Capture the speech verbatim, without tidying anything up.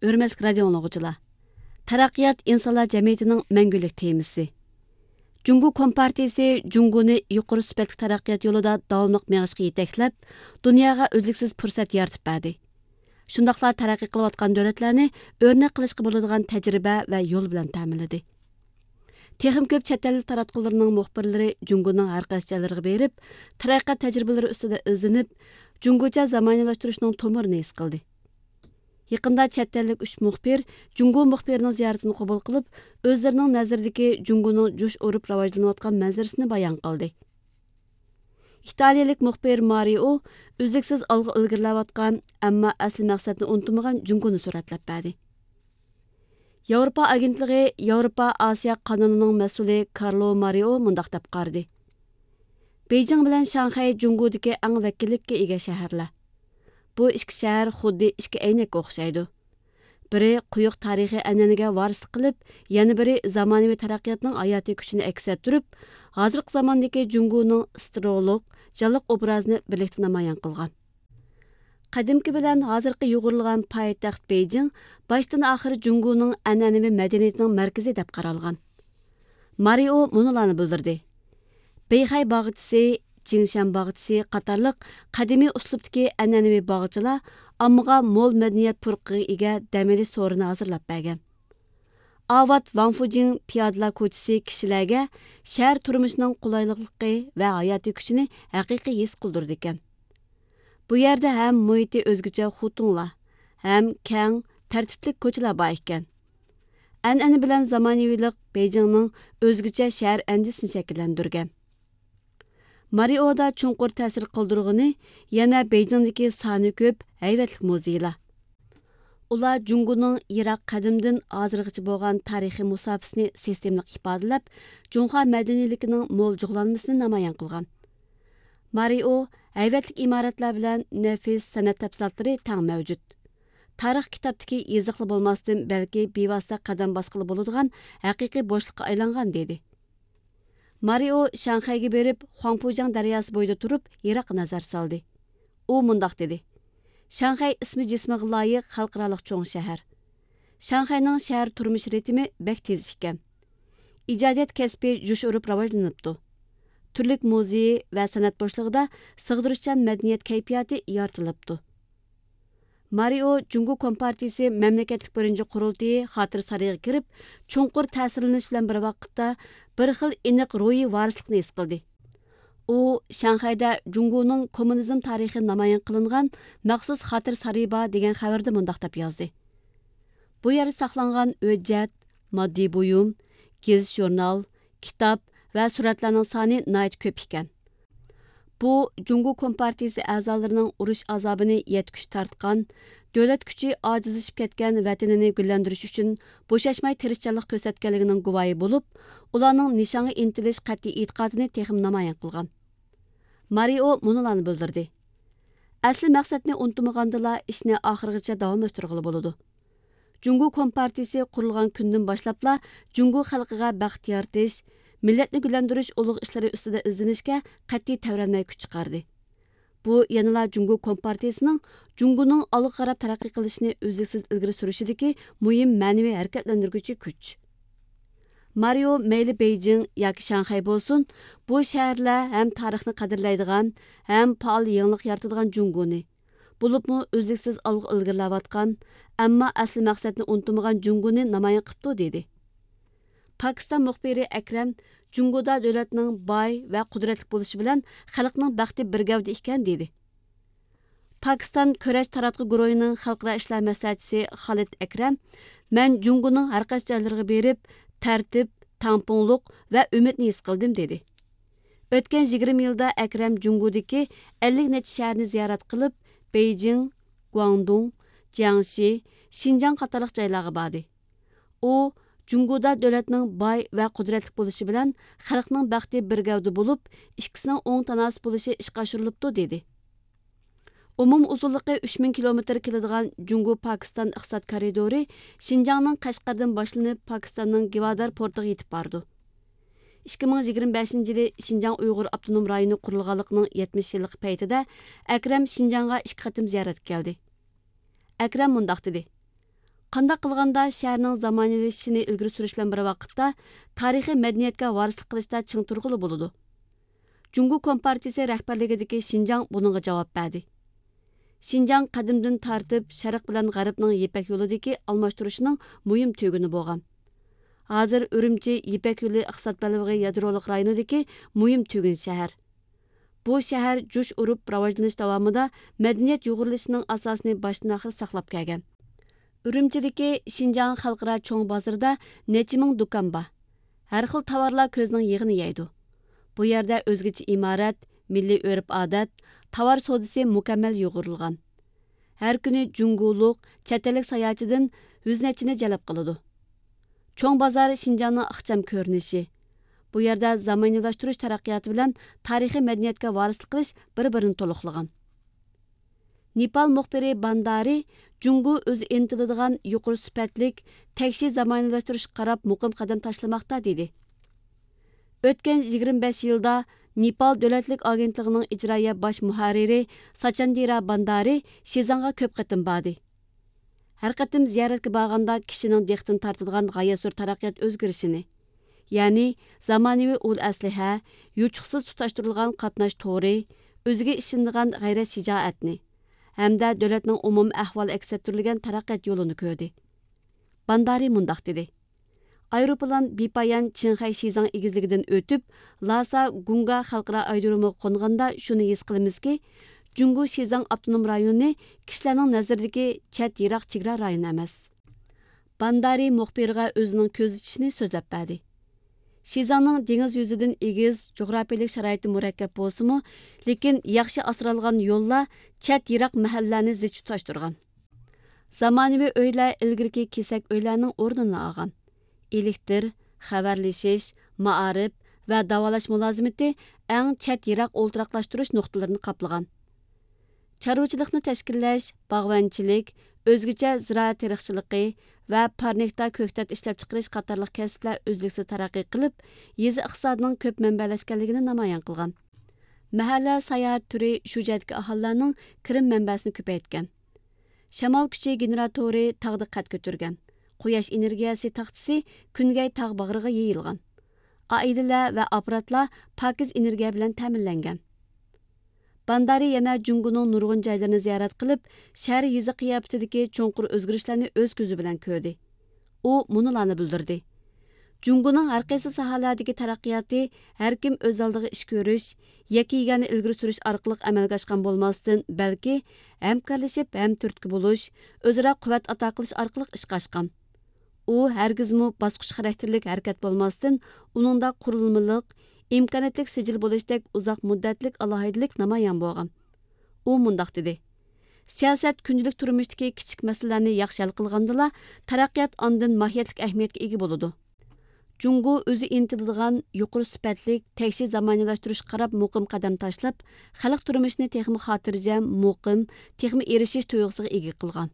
ھۆرمەتلىك رادىئو ئاڭلىغۇچىلار! تەرەققىيات ئىنسانلار جەمئىيىتىنىڭ مەڭگۈلۈك تېمىسى. جۇڭگو كومپارتىيىسى جۇڭگونى يۇقىرى سۈپەتلىك تەرەققىيات يولىدا داۋاملىق مېڭىشقا يېتەكلەپ، دۇنياغا ئۈزلۈكسىز پۇرسەت يارىتىپ بەردى. شۇنداقلا تەرەققىي قىلىۋاتقان دۆلەتلەرنى ئۆرنەك قىلىشقا بولىدىغان تەجرىبە ۋە يول بىلەن تەمىنلىدى. تېخىمۇ كۆپ چەت ئەل تاراتقۇلىرىنىڭ مۇخبىرلىرى جۇڭگونىڭ ھەر قايسى جايلىرىغا بېرىپ، تەرەققىيات تەجرىبىلىرى ئۈستىدە ئىزدىنىپ، جۇڭگوچە زامانىۋىلاشتۇرۇشنىڭ تومۇرىنى ھېس قىلدى. يېقىندا چەت ئەللىك ئۈچ مۇخبىر جۇڭگو مۇخبىرىنىڭ زىيارىتىنى قوبۇل قىلىپ، ئۆزلىرىنىڭ نەزىرىدىكى جۇڭگونىڭ جۇش ئۇرۇپ راۋاجلىنىۋاتقان مەنزىرىسىنى بايان قىلدى. ئىتالىيىلىك مۇخبىر مارىئو ئۈزلۈكسىز ئالغا ئىلگىرىلەۋاتقان، ئەمما ئەسلى مەقسەتنى ئۇنتۇمىغان جۇڭگونى سۈرەتلەپ بەردى. ياۋروپا ئاگېنتلىقى ياۋروپا ئاسىيا قانىلىنىڭ مەسئۇلى كارلو مارىئو مۇنداق دەپ قارىدى: بېيجىڭ بىلەن شاڭخەي جۇڭگودىكى ئەڭ ۋەكىللىككە ئىگە شەھەرلەر. بۇ ئىككى شەھەر خۇددى ئىككى ئەينەككە ئوخشايدۇ. بىرى قويۇق تارىخىي ئەنئەنىگە ۋارىسلىق قىلىپ، يەنە بىرى زامانىۋى تەرەققىياتنىڭ ھاياتىي كۈچىنى ئەكس ئەتتۈرۈپ، ھازىرقى زاماندىكى جۇڭگونىڭ سترولۇق، جانلىق ئوبرازىنى بىرلىكتە نامايان قىلغان. قەدىمكى بىلەن ھازىرقى يۇغۇرۇلغان پايتەخت بېيجىڭ باشتىن ئاخىر جۇڭگونىڭ ئەنئەنىۋى مەدەنىيىتىنىڭ مەركىزى دەپ قارالغان. مارىئو مۇنۇلارنى بىلدۈردى: بېيخەي باغچىسى، جىڭشەن باغچىسى قاتارلىق قەدىمىي ئۇسلۇبتىكى ئەنئەنىۋى باغچىلار ئاممىغا مول مەدەنىيەت پۇرىقىغا ئىگە دەم ئېلىش سورۇنى ھازىرلاپ بەرگەن. ئاۋات ۋاڭفۇجىڭ پىيادىلەر كوچىسى كىشىلەرگە شەھەر تۇرمۇشىنىڭ قولايلىقلىقى ۋە ھاياتىي كۈچىنى ھەقىقىي ھېس قىلدۇرىدىكەن. بۇ يەردە ھەم مۇھىتى ئۆزگىچە خۇتۇڭلار، ھەم كەڭ، تەرتىپلىك كوچىلار بار ئىكەن. ئەنئەنە بىلەن زامانىۋىلىق بېيجىڭنىڭ ئۆزگىچە شەھەر ئەندىزىسىنى شەكىللەندۈرگەن. مارىئودا چوڭقۇر تەسىر قالدۇرغىنى يەنە بېيجىڭدىكى سانى كۆپ ھەيۋەتلىك مۇزېيلار. ئۇلار جۇڭگونىڭ يىراق قەدىمدىن ھازىرغىچە بولغان تارىخىي مۇساپىسىنى سىستېمىلىق ئىپادىلەپ، جۇڭخۇا مەدەنىيلىكىنىڭ مول جۇغلانمىسىنى نامايان قىلغان. مارىئو ھەيۋەتلىك ئىمارەتلەر بىلەن نەپىس سەنئەت تەپسىلاتلىرى تەڭ مەۋجۇت. تارىخ كىتابتىكى يېزىقلا بولماستىن، بەلكى بىۋاسىتە قەدەم باسقىلى بولىدىغان ھەقىقىي بوشلۇققا ئايلانغان، دېدى. مارىئو شاڭخەيگە بېرىپ، خۇاڭپۇجياڭ دەرياسى بويىدا تۇرۇپ، يىراققا نەزەر سالدى. ئۇ مۇنداق دېدى: شاڭخەي ئىسمى جىسمىغا لايىق خەلقئارالىق چوڭ شەھەر. شاڭخەينىڭ شەھەر تۇرمۇش رىتىمى بەك تېز ئىكەن. ئىجادىيەت كەسپى جۇش ئۇرۇپ راۋاجلىنىپتۇ. تۈرلۈك مۇزېي ۋە سەنئەت بوشلۇقىدا سىغدۇرۇشچان مەدەنىيەت كەيپىياتى يارىتىلىپتۇ. مارىئو جۇڭگو كومپارتىيىسى مەملىكەتلىك بىرىنچى قۇرۇلتىيى خاتىرە سارىيىغا كىرىپ، چوڭقۇر تەسىرلىنىش بىلەن بىر ۋاقىتتا، بىر خىل ئېنىق روھىي ۋارىسلىقنى ھېس قىلدى. ئۇ شاڭخەيدە جۇڭگونىڭ كوممۇنىزم تارىخى نامايان قىلىنغان مەخسۇس خاتىرە سارىيى بار دېگەن خەۋىرىدە مۇنداق دەپ يازدى: بۇ يەردە ساقلانغان ھۆججەت، ماددىي بۇيۇم، گېزىت-ژۇرنال، كىتاب ۋە سۈرەتلەرنىڭ سانى ناھايىتى كۆپ ئىكەن. بۇ جۇڭگو كومپارتىيىسى ئەزالىرىنىڭ ئۇرۇش ئازابىنى يەتكۈچە تارتقان، دۆلەت كۈچى ئاجىزلىشىپ كەتكەن ۋەتىنىنى گۈللەندۈرۈش ئۈچۈن بوشاشماي تىرىشچانلىق كۆرسەتكەنلىكىنىڭ گۇۋاھى بولۇپ، ئۇلارنىڭ نىشانغا ئىنتىلىش قەتئىي ئېتىقادىنى تېخىمۇ نامايان قىلغان. مارىئو مۇنۇلارنى بىلدۈردى: ئەسلى مەقسەتنى ئۇنتۇمىغاندىلا، ئىشنى ئاخىرغىچە داۋاملاشتۇرغىلى بولىدۇ. جۇڭگو كومپارتىيىسى قۇرۇلغان كۈندىن باشلاپلا جۇڭگو خەلقىگە بەخت يارىتىش، مىللەتنى گۈللەندۈرۈش ئۇلۇغ ئىشلىرى ئۈستىدە ئىزدىنىشكە قەتئىي تەۋرەنمەي كۈچ چىقاردى. بۇ يەنىلا جۇڭگو كومپارتىيىسىنىڭ جۇڭگونىڭ ئالغا قاراپ تەرەققىي قىلىشىنى ئۈزلۈكسىز ئىلگىرى سۈرۈشىدىكى مۇھىم مەنىۋى ھەرىكەتلەندۈرگۈچى كۈچ. مارىئو مەيلى بېيجىڭ ياكى شاڭخەي بولسۇن، بۇ شەھەرلەر ھەم تارىخنى قەدىرلەيدىغان، ھەم پائال يېڭىلىق يارىتىدىغان جۇڭگونى، بولۇپمۇ ئۈزلۈكسىز ئالغا ئىلگىرىلەۋاتقان، ئەمما ئەسلى مەقسەتنى ئۇنتۇمىغان جۇڭگونى نامايان قىپتۇ، دېدى. پاكىستان مۇخبىرى ئەكرەم جۇڭگودا دۆلەتنىڭ باي ۋە قۇدرەتلىك بولۇشى بىلەن خەلقنىڭ بەختى بىر گەۋدە ئىكەن، دېدى. پاكىستان كۈرەش تاراتقۇ گۇرۇھىنىڭ خەلقئارا ئىشلار مەسلىھەتچىسى خالىد ئەكرەم، مەن جۇڭگونىڭ ھەرقايسى جايلىرىغا بېرىپ، تەرتىپ، تەڭپۇڭلۇق ۋە ئۈمىدنى ھېس قىلدىم، دېدى. ئۆتكەن يىگىرمە يىلدا ئەكرەم جۇڭگودىكى ئەللىك نەچچە شەھەرنى زىيارەت قىلىپ، بېيجىڭ، گۇاڭدۇڭ، جياڭشى، شىنجاڭ قاتارلىق جايلارغا باردى. ئۇ، جۇڭگودا دۆلەتنىڭ باي ۋە قۇدرەتلىك بولۇشى بىلەن خەلقنىڭ بەختى بىر گەۋدە بولۇپ، ئىككىسىنىڭ ئوڭ تاناسىپ بولۇشى ئىشقا ئاشۇرۇلۇپتۇ، دېدى. ئومۇمىي ئۇزۇنلۇقى ئۈچ مىڭ كىلومېتىر كېلىدىغان جۇڭگو پاكىستان ئىقتىساد كارىدورى شىنجاڭنىڭ قەشقەردىن باشلىنىپ، پاكىستاننىڭ گىۋادار پورتىغا يېتىپ بارىدۇ. ئىككى مىڭ يىگىرمە بەشىنچى يىلى شىنجاڭ ئۇيغۇر ئاپتونوم رايونى قۇرۇلغانلىقىنىڭ يەتمىش يىللىقى پەيتىدە ئەكرەم شىنجاڭغا ئىككى قېتىم زىيارەتكە كەلدى. ئەكرەم مۇنداق دېدى: قانداق قىلغاندا شەھەرنىڭ زامانىۋىلىشىشىنى ئىلگىرى سۈرۈش بىلەن بىر ۋاقىتتا تارىخىي مەدەنىيەتكە ۋارىسلىق قىلىشتا چىڭ تۇرغىلى بولىدۇ؟ جۇڭگو كومپارتىيىسى رەھبەرلىكىدىكى شىنجاڭ بۇنىڭغا جاۋاب بەردى. شىنجاڭ قەدىمدىن تارتىپ شەرق بىلەن غەربنىڭ يىپەك يولىدىكى ئالماشتۇرۇشنىڭ مۇھىم تۈگۈنى بولغان. ھازىر ئۈرۈمچى يىپەك يولى ئىقتىساد بەلبېغى يادرولۇق رايونىدىكى مۇھىم تۈگۈن شەھەر. بۇ شەھەر جۇش ئۇرۇپ راۋاجلىنىش داۋامىدا مەدەنىيەت يۇغۇرۇلۇشىنىڭ ئاساسىنى باشتىن ئاخىر ساقلاپ كەلگەن. ئۈرۈمچىدىكى شىنجاڭ خەلقئارا چوڭ بازىرىدا نەچچە مىڭ دۇكان بار. ھەر خىل تاۋارلار كۆزنىڭ يېغىنى يەيدۇ. بۇ يەردە ئۆزگىچە ئىمارەت، مىللىي ئۆرپ-ئادەت، تاۋار سودىسى مۇكەممەل يۇغۇرۇلغان. ھەر كۈنى جۇڭگولۇق، چەت ئەللىك ساياھەتچىدىن يۈز نەچچىنى جەلپ قىلىدۇ. چوڭ بازار شىنجاڭنىڭ ئىخچام كۆرۈنۈشى. بۇ يەردە زامانىۋىلاشتۇرۇش تەرەققىياتى بىلەن تارىخىي مەدەنىيەتكە ۋارىسلىق قىلىش بىر-بىرىنى تولۇقلىغان. نېپال مۇخبىرى باندارى جۇڭگو ئۆزى ئىنتىلىدىغان يۇقىرى سۈپەتلىك، تەكشى زامانىۋىلاشتۇرۇشقا قاراپ مۇقىم قەدەم تاشلىماقتا، دېدى. ئۆتكەن يىگىرمە بەش يىلدا نېپال دۆلەتلىك ئاگېنتلىقىنىڭ ئىجرائىيە باش مۇھەررىرى ساچاندىرا باندارى شىزاڭغا كۆپ قېتىم باردى. ھەر قېتىم زىيارەتكە بارغاندا كىشىنىڭ دىققىتىنى تارتىدىغان غايەت زور تەرەققىيات ئۆزگىرىشىنى، يەنى زامانىۋى ئۇل ئەسلىھە، يوچۇقسىز تۇتاشتۇرۇلغان قاتناش تورى، ئۆزىگە ئىشىنىدىغان غەيرەت شىجائەتنى ھەمدە دۆلەتنىڭ ئومۇمىي ئەھۋالى ئەكس ئەتتۈرۈلگەن تەرەققىيات يولىنى كۆردى. باندارى مۇنداق دېدى: ئايروپىلان بىپايان چىڭخەي شىزاڭ ئېگىزلىكىدىن ئۆتۈپ، لاسا گۇڭگا خەلقئارا ئايرودرومىغا قونغاندا شۇنى ھېس قىلىمىزكى، جۇڭگو شىزاڭ ئاپتونوم رايونى كىشىلەرنىڭ نەزىرىدىكى چەت يىراق چېگرا رايونى ئەمەس. باندارى مۇخبىرغا ئۆزىنىڭ كۆزىتىشىنى سۆزلەپ بەردى. شىزاڭنىڭ دېڭىز يۈزىدىن ئېگىز، جۇغراپىيىلىك شارائىتى مۇرەككەپ بولسىمۇ، لېكىن ياخشى ئاسرالغان يوللار چەت يىراق مەھەللىلەرنى زىچ تۇتاشتۇرغان. زامانىۋى ئۆيلەر ئىلگىرىكى كېسەك ئۆيلەرنىڭ ئورنىنى ئالغان. ئېلېكتىر، خەۋەرلىشىش، مائارىپ ۋە داۋالاش مۇلازىمىتى ئەڭ چەت يىراق ئولتۇراقلاشتۇرۇش نۇقتىلىرىنى قاپلىغان. چارۋىچىلىقنى تەشكىللەش، باغۋەنچىلىك، ئۆزگىچە زىرائەت تېرىقچىلىقى ۋە پارنىكتا كۆكتات ئىشلەپچىقىرىش قاتارلىق كەسىپلەر ئۈزلۈكسىز تەرەققىي قىلىپ، يېزا ئىقتىسادىنىڭ كۆپ مەنبەلەشكەنلىكىنى نامايان قىلغان. مەھەللە ساياھەت تۈرى شۇ جايدىكى ئاھالىلەرنىڭ كىرىم مەنبەسىنى كۆپەيتكەن. شامال كۈچى گېنېراتورى تاغدا قەد كۆتۈرگەن. قۇياش ئېنېرگىيەسى تاختىسى كۈنگەي تاغ باغرىغا يېيىلغان. ئائىلىلەر ۋە ئاپپاراتلار پاكىز ئېنېرگىيە بىلەن تەمىنلەنگەن. باندارى يەنە جۇڭگونىڭ نۇرغۇن جايلىرىنى زىيارەت قىلىپ، شەھەر يېزا قىياپىتىدىكى چوڭقۇر ئۆزگىرىشلەرنى ئۆز كۆزى بىلەن كۆردى. ئۇ مۇنۇلارنى بىلدۈردى: جۇڭگونىڭ ھەر قايسى ساھەلەردىكى تەرەققىياتى ھەر كىم ئۆز ئالدىغا ئىش كۆرۈش، يەككە يېگانە ئىلگىرى سۈرۈش ئارقىلىق ئەمەلگە ئاشقان بولماستىن، بەلكى ھەمكارلىشىپ، ھەمتۈرتكە بولۇش، ئۆزئارا قۇۋۋەت ئاتا قىلىش ئارقىلىق ئىشقا ئاشقان. ئۇ ھەرگىزمۇ باسقۇچ خاراكتېرلىك ھەرىكەت بولماستىن، ئۇنىڭدا قۇرۇلمىلىق، ئىمكانىيەتلىك سىجىل بولۇشتەك ئۇزاق مۇددەتلىك ئالاھىدىلىك نامايان بولغان. ئۇ مۇنداق دېدى: سىياسەت كۈندىلىك تۇرمۇشتىكى كىچىك مەسىلىلەرنى ياخشى ھەل قىلغاندىلا، تەرەققىيات ئاندىن ماھىيەتلىك ئەھمىيەتكە ئىگە بولىدۇ. جۇڭگو ئۆزى ئىنتىلىدىغان يۇقىرى سۈپەتلىك، تەكشى زامانىۋىلاشتۇرۇشقا قاراپ مۇقىم قەدەم تاشلاپ، خەلق تۇرمۇشىنى تېخىمۇ خاتىرجەم، مۇقىم، تېخىمۇ ئېرىشىش تۇيغۇسىغا ئىگە قىلغان.